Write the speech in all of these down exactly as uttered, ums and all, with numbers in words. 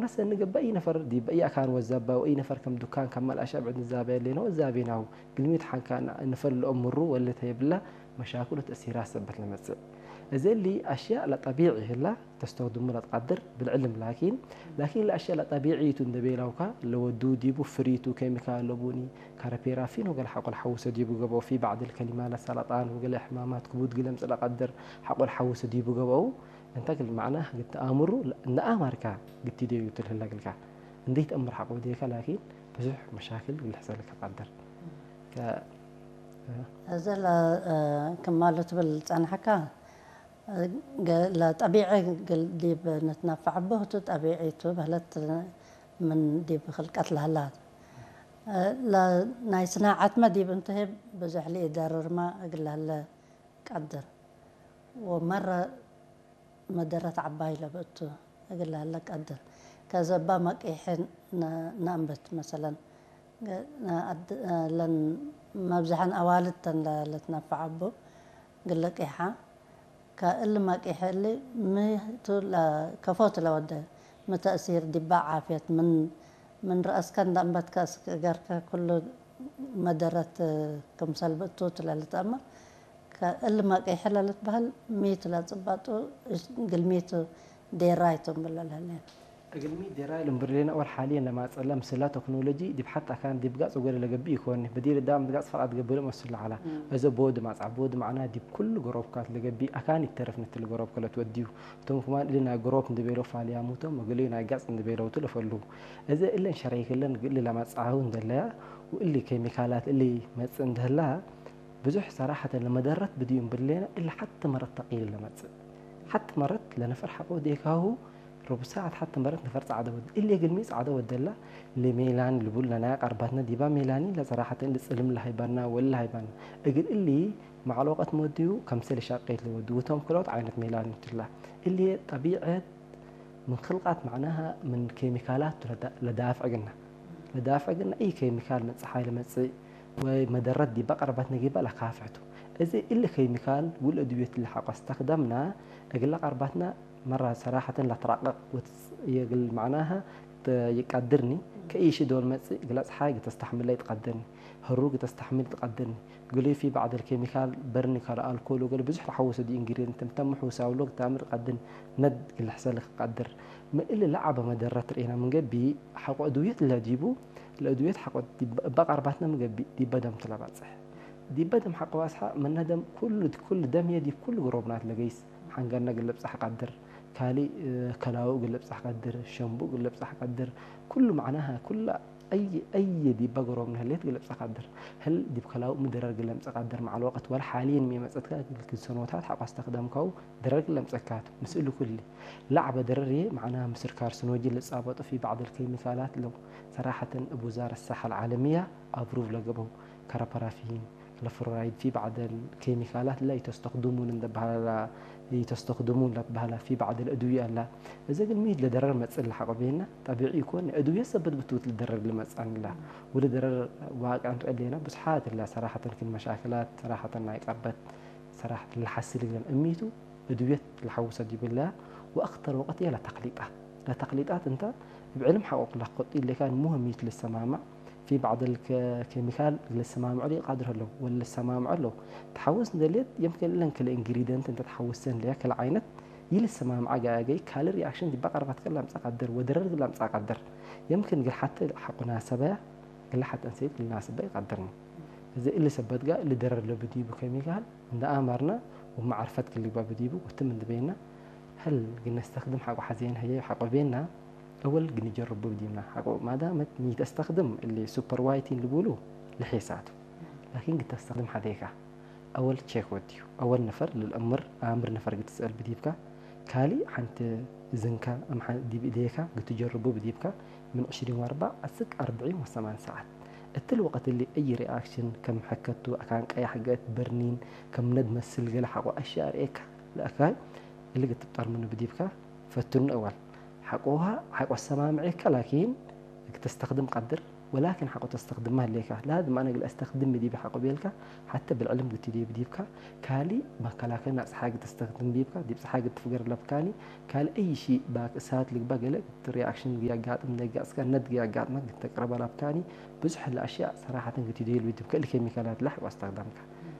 ነሰ እንገብእ፣ እይ ነፈር ዲብ እይ አካን ወዛባ ወእይ ነፈር ከም ዱካን ከመ ለአሸዕ ብዕድ ንዛበ ህሌነ ወዛቤናሁ። ግልሚት ሐንካ ንፈር ለአምሩ ወለ ተየብላ መሻክል ወተእሲራት ሰበት ለመጽእ። እዘ እሊ አሽያእ ለጠቢዒ ህላ ተስተክድሙ ለትቀድር ብልዕልም ላኪን፣ ላኪን ለአሽያእ ለጠቢዒ ቱ እንደ ቤላውካ ለወዱ ዲቡ ፍሪ ቱ ኬሚካል ለቡኒ፣ ካረፔራ ፊኖ ገለ ሐቆ ለሐውሰ ዲቡ ገብአው፣ ፊ በዕድ ልከሊማ ለሰረጣን ወገለ ሕማማት ክቡድ ግለምጽእ ለቀድር ሐቆ ለሐውሰ ዲቡ ገብአው። እንተ እግል መዕናህ ግት አምሩ እንደ አማርካ ግት ደዩ ትልህለ እግልካ። እንዴ ተአምር ሐቆ ዴከ ላኪን ብዙሕ መሻክል ልሕሰልከ ቀድር። ከ-፣ እዘ ለ-፣ ክማሉ ትብል ጸንሐካ፣ ገ-፣ ለጠቢዒ ግል ዲብ ንትነፈዕ እቡ ህቱ ጠቢዒ ቱ በህለት ምን ዲብ ክልቀት ለህላት። ለ-፣ ናይ ስናዓትመ ዲብ እንተ ህብ ብዙሕ ለኢደርርመ እግል ለህለ ቀድር። ወመረ መደረት ዐባይ ለብእቱ እግል ለህለ ቀድር። ከዘባ መቂሐ ነ-፣ ነአንብት መሰለን፣ ለ-፣ ለን መብዝሐን አዋልድ ተን ለ-፣ ለትነፈዕ እቡ እግል ለቂሐ፣ ከእሊ መቂሐ እሊ ሚ ቱ ለ-፣ ከፎ ቱ ለወደ፣ ሚ ተእሲር ዲበ ዓፍየት ምን፣ ምን ረአስከ እንደ አንበትከ እስክ እገርከ ኩሉ መደረት ክምሰል ብእቱ ቱ ለልትአመር፣ ከእሊ መቂሐ ለልትበህል ሚ ቱ ለጽባጡ፣ እግል ሚ ቱ ዴራይ ቱ እምብል ለልህሌ። እግልሚ ዴራይ ልንብርሌነ ኦር ሓልየን ለማጸለ ምስላ ቴክኖሎጂ ዲብ ሐት አካን ዲብ ጋጽ ወገለ ለገብእ ኢኮን። በዲር ዳም ጋጽ ፈቃድ ገብእ መስል ለዐላ። እም። እዘ ቦድ ማጽዓ፣ ቦድ መዕና ዲብ ኩሉ ገሮብካት ለገብእ አካን ይተረፍ ንትል ገሮብ ከለት ወድዩ። እቶም ክማን እሊ ናይ ገሮብ እንደ ቤለው ፋልያሙ ቶም፣ እግልዩ ናይ ጋጽ እንደ ቤለውቱ ለፈሉ። እዘ እለን ሸረይክለን እሊ ለማጽዓሁ እንደለያ፣ ወእሊ ኬሚካላት እሊ መጽእ እንደህላ፣ ብዙሕ ሰራሐተን ለመደረት ብድዩ እምብሌነ፣ እሊ ሐቲ መረት ተቂል ለመጽእ። ሐቲ መረት ለነፈር ሐቆ ዴካሁ፣ ሩብ ሳዐት ሐቲ መረት ነፈር ጸዕደ ወድ-፣ እሊ እግልሚ ጸዕደ ወደላ፣ ለሜላን ልቡል ለናይ አቃርባትነ ዲባ ሜላኒ ለሰራሐተን እሊ ጽልም ለሀይባና ወለ ለሀይባና። እግል እሊ መዓል ወቀት መወድዩ ከምሰል ሻቄት ለወድዩ፣ ወቶም ክልኦት ዓይነት ሜላኒ ትላ። እሊ ጠቢዐት ምን ክልቃት መዕናሃ ምን ኬሚካላት ቱ ለዳ-፣ ለዳፍዕ ግና። ለዳፍዕ ግና እይ ኬሚካል ምን ጸሓይ ለመጽእ ወይ መደረት ዲበ ቀርባትነ ጊበ ለካፍሕ ቱ። እዚ እሊ ኬሚካል ወለአድውየት እሊ ሐቆ አስተክደምና እግለ ቀርባትነ መራ ሰራሐተን ለትራቀቅ ወትጽ-፣ የግል መዕናሃ ተ-፣ ይቀድርኒ። ከእይሺ ዶል መጽእ እግለ ጸሓይ ግተስተሕምለ ይትቀድርኒ። ህሩግ ተስተሕምል ትቀድርኒ። ግሉይ ፊ በዕድ አልኬሚካል በርኒ ከለ አልኮል ወገለ ብዙሕ ተሐውሰ ዲ ኢንግሪድየንት እንተ ምሑሳው ሎግ ታምር ቀድን ነድ ግልሕሰ ልቀድር። ምን እሊ ለዐበ መደረት ርኤና ምን ገብእ ሐቆ እድውየት ለዲቡ ለእድውየት ሐቆ ዲብ እበ ቀርባትነ ምን ገብእ ዲበ ደም ትለባጽሕ። ዲበ ደም ሐቆ ባጽሐ ምነ ደም ኩሉ ኩሉ ደም ህዬ ዲብ ኩሉ ግሮብናት ለገይስ ሐንገርነ እግል ልብጸሕ ቀድር። ካልእ ከላው እግል ልብጸሕ ቀድር። ሸንቡ እግል ልብጸሕ ቀድር። ኩሉ መዕናሀ ኩለ አይ፣ አይ ዲበ ገሮብ ንህሌት እግል ለብጸ ቀድር። ህል ዲብ ከላው ሚ ደረር እግል ለምጸ ቀድር መዓል ወቅት ወለ ሓልየን ሚ መጸትከ እግል ክል ሰኖታት ሐቆ አስተክደምከው ደረር እግል ለምጸካቱ። ምስእሉ ኩሊ ለዐበ ደረር ህዬ መዕናህ ምስል ካርሲኖጂ ልጻበጡ ፊ በዕድ አልኬሚካላት ለው። ሰራሐተን እብ ውዛረት ሰሐ አልዓለምያ አብሩቭ ለገብአው ከረፐራፊን ለፍሎራይድ ፊ በዕድ አልኬሚካላት ላ ኢተስተክድሙን እንደ በሀላ ላ ኢተስተክድሙን ለትበሀላ ፊ በዕድ አልአድውየ አላ። እዘ እግል ሚ ለደረር መጽእ ለሐቆ ቤና ጠቢዒ ኢኮን፣ አድውየ ሰበት ብትውት ለደረር ለመጽአን እላ። ወለደረር ዋቅዕን ርኤ ቤና ብዝሓት እላ ሰራሐተን ክል መሻክላት ሰራሐተን ናይ ቀርበት ሰራሐተን ለሐስል እግለን እሚቱ አድውየት ለሐውሰ ዲብላ ወአክተር ወቅት ህዬ ለተክሊጣት። ለተክሊጣት እንተ እብ ዕልም ሐቆ ለክጠ ኢሌካን ሙህም ሚ ቱ ልሰማመዕ ፊ በዕድ አልከ-፣ ኬሚካል ልሰማምዑ ለኢቃድር ህለው ወለሰማምዑ ህለው። ተሐውስ እንዴ ህሌት፣ የምክን እለን ክልኤ ኢንግሪደንት እንተ ተሐውሰ እንዴ ክል ዓይነት ይልሰማምዐ ገአገይ ካልእ ሪአክሽን ዲበ ቀርባትከ ለምጸእ ቀድር ወደረር ለምጸእ ቀድር። የምክን እግል ሐቴ ሐቆ ናሰበያ፣ እግል ሐቴ እንሰይት ልናስበ ኢቀድርኒ። እዘ እሊ ሰበት ገአ እሊ ደረር ለቡ ዲቡ ኬሚካል እንደ አማርነ ወመዓርፈት ክል ልግበእ ብዲቡ ወትም እንዴ ቤና፣ ህል እግል ነስተክድም ሐቆ ሐዜን ህዬ ሐቆ ቤና፣ አወል እግል ንጀርቡ ብዲብና። ሐቆ ማዳመት ሚ ተስተክድም እሊ ሱፐር ዋይቲን ልቡሉ ልሒሳቱ። ላኪን እግል ተስተክድም ሐዜካ አወል ቼክ ወድዩ። አወል ነፈር ለልአምር አምር ነፈር እግል ትስአል ብዲብካ፣ ካልእ ሐንቲ እዝንከ አም ሐ-፣ ዲብ እዴከ እግል ትጀርቡ ብዲብካ፣ ምን ዕሽሪን ወአርበዕ አስክ አርብዒን ወሰማን ሰዓት። እትሊ ወቅት እሊ አይ ሪአክሽን ከም ሐከቱ፣ አካን ቀያሕ ገአት፣ በርኒን፣ ከም ነድ መስል ገሌ ሐቆ አሽያእ ርኤካ ለአካይ እሊ እግል ትብጠር ምኑ ብዲብካ ፈትኑ። አወል ሐቆሃ ሐቆ ሰማምዔከ ላኪን እግል ተስተክድም ቀድር። ወላኪን ሐቆ ተስተክድመ ህሌከ። ላዝም አነ እግል አስተክድም ዲብ ሐቆ ቤልከ፣ ሐተ ብልዕልም ግትዲብ ዲብከ፣ ካልእ መከላከል ናጽ ጸሓይ እግል ተስተክድም ዲብከ፣ ዲብ ጸሓይ እግል ትፍገር ለብካኒ፣ ካልእ አይ ሺ ባክ እሳት ልግበእ ገሌ እት ሪአክሽን እግል ያጋጥም፣ ነጋጽከ ነድ እግል ያጋጥመክ እግል ተቅረበ ለብካኒ፣ ብዙሕ ለአሽያእ ሰራሐተን ግትዲብ ዲብከ፣ እሊ ኬሚካላት ለሐቆ አስተክደምከ።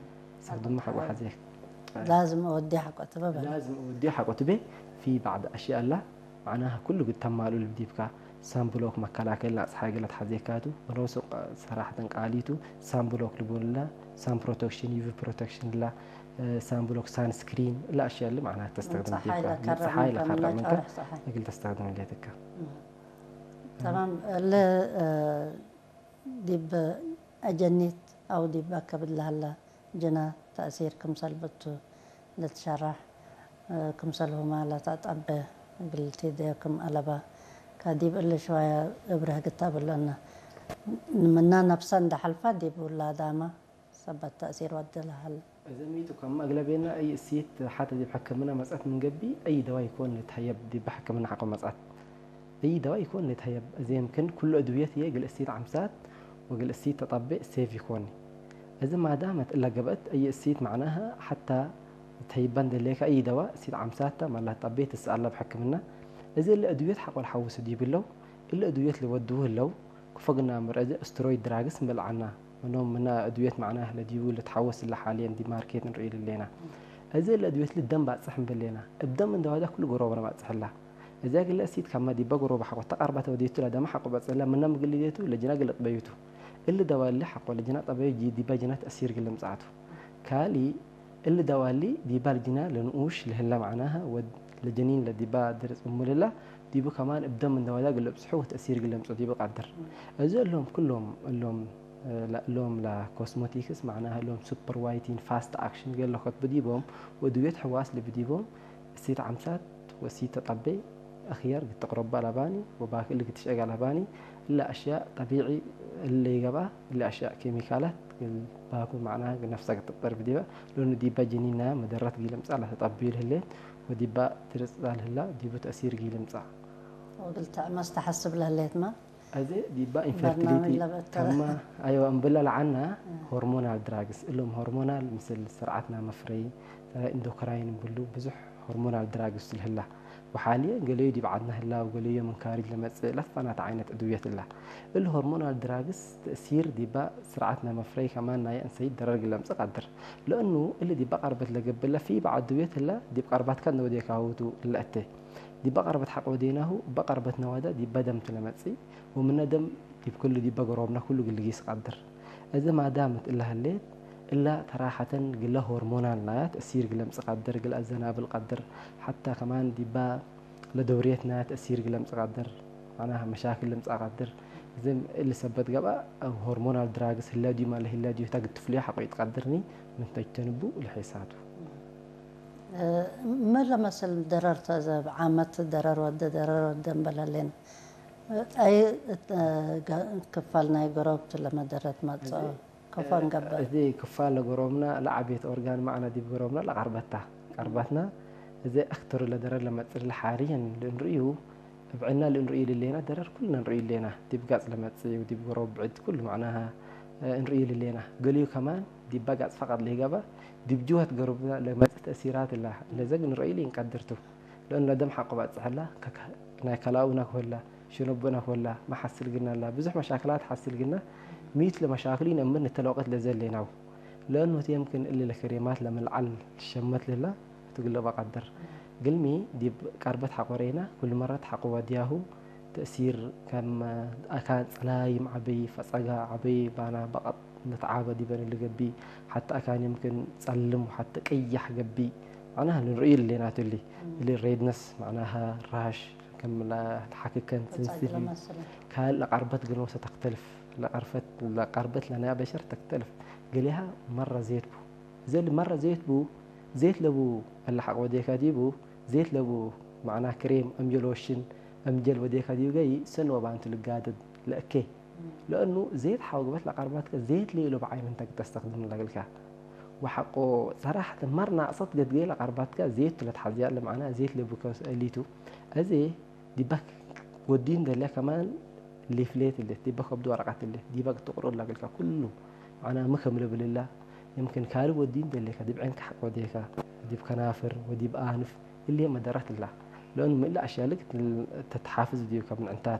አስተክድመ ሐቆ ሐዜክ። ላዝም እወዴ ሐቆ ትበ በለ። ላዝም እወዴ ሐቆ ትቤ፣ ፊ ባዕድ አሽያእ እላ፣ መዕናሀ፣ ኩሉ እግል ተማልኡ ልብ ዲብካ፣ ሳንብሎክ መከላከል ናጽ ጸሓይ ገሌ ተሐዜካቱ፣ ወነፍሱ ሰራሐተን ቃሊቱ፣ ሳንብሎክ ልቡን እላ፣ ሳን ፕሮቴክሽን፣ ዩ ቪ ፕሮቴክሽን እላ፣ ሳንብሎክ፣ ሳንስክሪን፣ እላ አሽያእ እሊ መዕናሀ ተስተክድም ጸሓይ ዲብካ፣ ለከረዕ ጸሓይ ምንከ ለከረዕ ምንከ ጸርሕ ጸሓይ። እግል ተስተክድም ህሌትከ። እም። ተማም። እሊ፣ እ፣ ዲብ አጀኒት አው ዲብ አከብድ ለሀለ ጅና ተእሲር ክምሰል ብቱ ልትሸራሕ፣ ክምሰልሁመ ለተአጠቤ እግል ቲዴ ክም አለበ፣ ከዲብ እሊ ሽዋየ እብርህ ግታ ብለነ። ምነ ነፍሰ እንደ ሐልፈ ዲብ ውላዳመ ሰበት ተእሲር ወደ ለሀለ። እዘ ሚቱ ከመ አግለቤነ አይ እሲት ሐተ ዲብ ሕክምነ መጽአት ምን ገብእ፣ አይ ደዋ ኢኮን ልትሀየብ ዲበ ሕክምነ ሐቆ መጽአት። አይ ደዋ ኢኮን ልትሀየብ። እዜ የምክን ኩሉ አድውየት ህዬ እግል እሲት ዐምሳት ወእግል እሲት ተጠቤ ሴፍ ኢኮን። እዘ ማዳመት እለ ገብአት አይ እሲት መዕናሀ ሐታ ልትሀይበ እንዴ ሌከ አይ ደዋ እሲት ዐምሳት ተ መ ለትጠቤ ትሰአል ለብ ሕክምነ። እዘ እለ አድውየት ሐቆ ለሐውሱ ዲብ ህለው፣ እለ አድውየት ልወድዉ ህለው፣ ክፎ ግና ምር እዘ ስትሮይድ ድራግስ እንብል ዐና። ምኖም ምነ አድውየት መዕናህ ለዲቡ ልትሐወስ እለ ሓልየን ዲብ ማርኬት እንርእዩ ልሌና። እዘ እለ አድውየት እሊ ደም ባጽሕ እንብል ሌና። እብ ደም እንደ ዋዳ ኩሉ ገሮብ ለባጽሕ እላ። እዘ እግለ እሲት ከመ ዲበ ገሮብ ሐቆ ተቀርበተ ወዴቱ ለደመ ሐቆ በጽሕ እለ ምነ ምግል ሌቱ ለጅና እግል ልጥበዩቱ። እሊ ደዋ እሊ ሐቆ ለጅና ጠበዩ ጂ-፣ ዲበ ጅና ተእሲር እግል ልምጽአቱ። ካሊ እሊ ደዋ እሊ ዲባ ለጅና ለንኡሽ ለህለ መዕናሀ ወድ ለጀኒን ለዲባ ድርጽ እሙልላ ዲቡ ከማን እብ ደም እንደ ዋዳ እግል ልብጽሑ ወተእሲር እግል ለምጽኦ ዲቡ ቀድር። እዞ እሎም ኩሎም እሎም፣ ለእሎም ለኮስሞቲክስ መዕናሀ እሎም ሱፐር ዋይቲን ፋስት አክሽን እግል ለከትቡ ዲቦም ወእድውየት ሕዋስ ልብ ዲቦም እሲት ዐምሳት ወእሲት ተጠቤ አክየር እግል ትቅረቡ አለባኒ ወባክ እሊ እግል ትሸገ አለባኒ። እለ አሽያእ ጠቢዒ እሊ ገብአ፣ እሊ አሽያእ ኬሚካላት እግል ባኩ መዕናሀ እግል ነፍሰ እግል ትጠርፍ ዲበ፣ ለእኑ ዲበ ጅኒን ናያ መደረት እግል ልምጸእ ለተጠብዩ ለህሌት ወዲባ ድርጽ ለህላ ዲቡ ተእሲር እግል ልምጸእ። ወእግል ተአመስ ተሐስብ ለህሌትመ። አዜ ዲባ በርናምጅ ኢንፈርቲሊቲ ለበተ። ከማ፣ አይወ፣ እምብለ ለዐና እ። ሆርሞናል ድራግስ፣ እሎም ሆርሞናል ምስል ስርዓትና መፍረይ፣ ኢንዶክራይን እምብሉ ብዙሕ ሆርሞናል ድራግስ ለህላ። ወሓልየን ገለዩ ዲብ ዐድነ ህላ ወገለዩ ምን ካርጅ ለመጽእ ለትፋናተ ዓይነት እድውየት እላ። እሊ ሆርሞናል ድራግስ ተእሲር ዲባ ስርዓትነ መፍረይ ከማን ናየ እንሰይት ደረር እግል ለምጽእ ቀድር። ለእኑ እሊ ዲባ ቀርበት ለገብእ ለፊ በዐል እድውየት ህለ ዲብ ቀርባትከ እንደ ወዴካሁ ቱ ለእቴ። ዲባ ቀርበት ሐቆ ወዴናሁ እበ ቀርበት ነዋዳ ዲባ ደም ቱ ለመጽእ ወምነ ደም ዲብ ክሉ ዲባ ገሮብነ ክሉ እግል ልጊስ ቀድር። እዘ ማዳመት እለ ህሌት፣ እለ ተራሐተን ግለ ሆርሞናል ናያ ተእሲር እግል ለምጽእ ቀድር፣ እግል አዘናብል ቀድር፣ ሐታ ከማን ዲባ ለደውርየት ናያ ተእሲር እግል ለምጽእ ቀድር፣ መዕናሀ መሻክል ለምጽእ ቀድር። እዘ እሊ ሰበት ገብአ፣ ሆርሞናል ድራግስ ህለ ዲዩ ማለ ህለ ዲዩ ህታ እግል ትፍልዮ ሐቆ ኢትቀድርኒ፣ ምን ተጅተንቡ ለሔሳቱ። ምን ለመስል ደረር ተ እዘ እብ ዓመት ደረር ወደ ደረር ወደ እምበል ህሌን? አይ፣ እ፣ ገ-፣ ክፋል ናይ ገሮብ ቱ ለመደረት መጽኦ፣ እዜ፣ ከፎ እ፣ እንገብእ። እዜ ክፋል ለገሮብና ለዐቤት ኦርጋን መዕና ዲብ ገሮብና ለቀርበት ታ። ቀርበትና እዜ አክተሩ ለደረር ለመጽእ ለሓርየን ለእንርእዩ፣ እብ ዕና ለእንርእዩ ልሌና ደረር ኩልና እንርእዩ ልሌና። ዲብ ጋጽ ለመጽእ ወዲብ ገሮብ ብዕድ ኩሉ መዕናሃ፣ እ፣ እንርእዩ ልሌና። ገሊዩ ከማን ዲባ ጋጽ ፈቀድ ለይገበእ፣ ዲብ ጅወት ገሮብና ለመጽእ ተእሲራት እላ ለዘግ እንርእዩ ልንቀድር ቱ። ለእኑ ለደም ሐቆ ባጽሕ እላ፣ ከከ-፣ ናይ ከላኡና ክወላ፣ ሸነቦና ክወላ፣ መሐስል ግና እላ፣ ብዙሕ መሻክላት ሐስል ግና፣ ሚት ለመሻክሉ ኢነምር ንተ ለወቅት ለዘ ህሌናው። ለእኑ ህቱ የምክን እሊ ለክሬማት ለመልዓል ሸመት ልህላ፣ ህቱ ግለበ ቀድር። ግልሚ ዲብ ቀርበት ሐቆ ሬና፣ ኩል መረት ሐቆ ወድያሁ፣ ተእሲር ከም አካን ጸላይም ዐበይ፣ ፈጸጋ ዐበይ፣ ባና በቀጥ ንትዓበ ዲበ ንልገብእ፣ ሐታ አካን የምክን ጸልም ወሐታ ቅያሕ ገብእ፣ መዕናሃ ልንርእዩ ልሌናቱ እሊ። እም። እሊ ሬድነስ መዕናሃ ራሽ፣ ከም ለሐክከን ፈጻጅ ስንስል፣ ለመስል። ካልእ ለቀርበት ግኖሰ ተክተልፍ፣ ለቀርፈት፣ ለቀርበት ለናያ በሸር ተክተልፍ። ገሌሃ መረ ዜት ቡ። እዘ እሊ መረ ዜት ቡ፣ ዜት ለቡ እለ ሐቅ ወዴካ ዲቡ፣ ዜት ለቡ መዕና ክሬም፣ አምጀል ሎሽን፣ አምጀል ወዴካ ዲቡ ገይ ሰኒ ወባንቱ ልጋደድ ለእኬ። ለእኑ ዜት ሐወግበት ለቀርበትከ ዜት ሌሎ በዓይ ምንተ ተስተክድም ለግልከ። ወሐቆ ሰራሐተ መር ናቅሰት ገድገ ለቀርበትከ ዜት ለትሐዝያ ለመዕና ዜት ለቡከ እሊቱ። አዜ ዲበክ ወዲን ደለ ከማን ሊፍሌት እለ ዲበ ከብድ ወረቀት እለ ዲበ ትቅርኦ ለእግልከ ኩሉ መዕና ሚ ክም ልብል እላ፣ የምክን ካልብ ወዲን ደሌከ ዲብ ዐይንከ ሐቅ ወዴከ፣ ዲብ ከናፍር ወዲብ አንፍ እለ መደረት እላ። ለእኑ ምን እለ አሽያልክ ተትሓፍዝ ዲብከ ምን ዕንታትከ